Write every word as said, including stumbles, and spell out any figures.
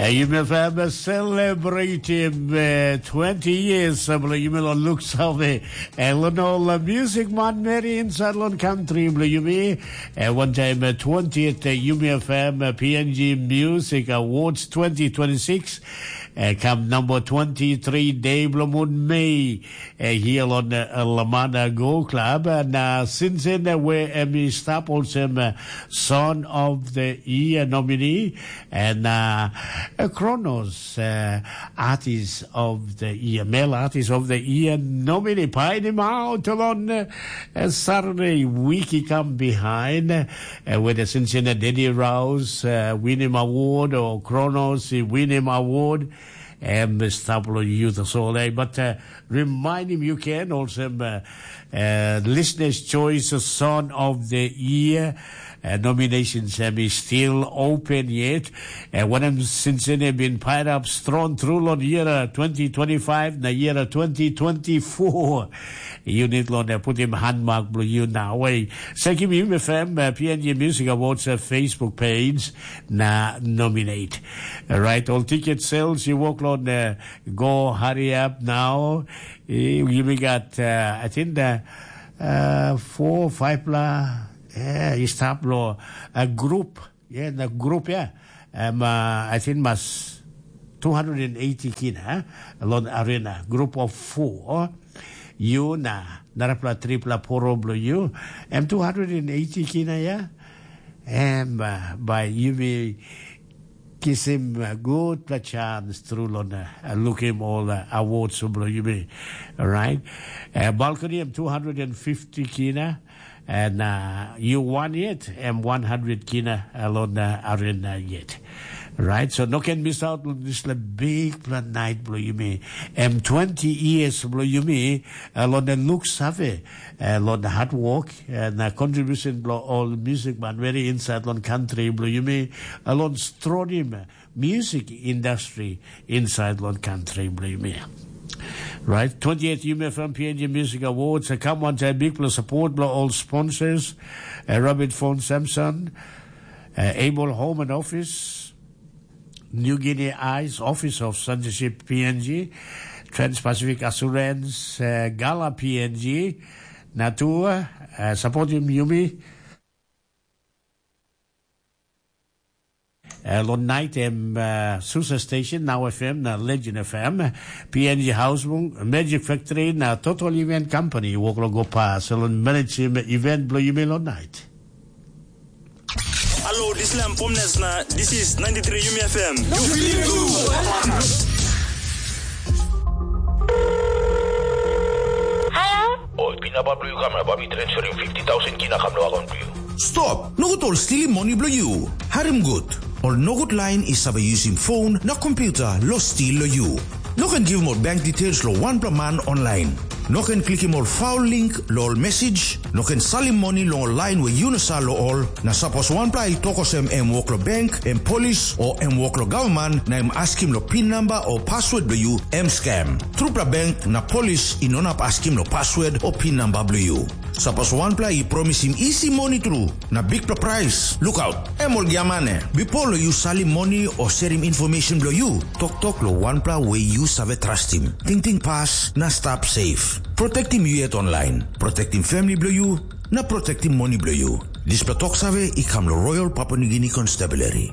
Yumi FM celebrating uh, twenty years uh, bilong yumi lo Luksave. Elon all uh, music man meri inside lon country bilong yumi. Uh, one time uh, twentieth uh, Yumi FM uh, P N G Music Awards twenty twenty-six. Uh, come number twenty-three day bilong moon May. Uh, here on uh, Lamana Go Club. And uh, since then uh, where uh, we stop also uh, Son of the Year nominee. And uh, uh, Kronos, uh, Artist of the Year, Male Artist of the Year nominee, painimauta long uh, uh, Saturday, wiki come behind, uh, with the Cincinnati Daddy Rouse, uh, win him award, or Kronos, he win him award, and the Stapler Youth Soleil. But uh, remind him you can also uh, uh, Listener's Choice Song of the Year. Uh, nominations um, is still open yet. Uh, when I'm since then have been piled up strong through on year uh, twenty twenty-five, na year uh, twenty twenty-four. You need on uh, put him handmark blue you now. Way, Sekim Yum F M, uh, P N G Music Awards uh, Facebook page, na nominate. All right, all ticket sales, you walk on uh, go hurry up now. Eh, You we got, uh, I think the uh, four, five la, yeah, you stop lo a group, yeah, the group, yeah. Um, uh, I think mas two hundred and eighty kina, eh? Lon arena, group of four. You na, narapla tripla poro blo you. Em two hundred and eighty kina, yeah? Em uh, by you be kisim uh, good pla chance through lon uh, lukim all uh, awards blo you be, right? Uh, balcony em two hundred and fifty kina, and uh, you won yet em one hundred kina alon uh, arena yet. Right, so no can miss out on this la big pla night blo you me. Em twenty years blo you me, alon the look save, alon the hard work, and uh, contribution blo all music man very inside lon country blo you me, alon stronim music industry inside lon country blo you me. Right, twenty-eighth U M F M P N G Music Awards. Uh, come on, a big plus support blo all sponsors, uh, Robert Fon Samson, uh, Able Home and Office, New Guinea Eyes, Office of Censorship P N G, Trans-Pacific Assurance, uh, Gala P N G, Natua, uh, Supporting Yumi, uh, Lon Night M, uh, Susa Station, Now F M, na Legend F M, P N G Housebung, Magic Factory, na Total Event Company, Woklo Gopa, Salon Management Event, Blue Yumi Lon Night. Hello, this is Lamb Pomnes na this is ninety-three Yumi F M. You feel good. Hello? Oi, pinapa blo yu kam na bai mi transferim fifty thousand kina kam lo akaunt blo yu. Stop! Nogut ol stilim moni blo yu. Harim gut. Ol nogut lain i save yusim phone na computer lo stil lo yu. No ken givim ol bank details lo wanpela man online. No ken klikim ol foul link lo ol message. No ken salim moni long ol lain we yu no sa lo ol. Na sapos wanpela i tok olsem em wok lo bank, em polis, o em wok lo gavman, na em askim lo pin namba o password blo yu, em scam. Trupela bank na polis i no inap askim lo password o pin namba blo yu. Sapos wanpela i promisim isi moni tru, na bikpela prais, lukaut, em ol giamane. Bipo lo yu salim moni o serim information blo yu, toktok lo wanpela we yu save trastim. Tingting pas na stap safe. Protektim yu yet online. Protektim famili blo yu, na protektim moni blo yu. Dispela tok save i kam lo Royal Papua New Guinea Constabulary.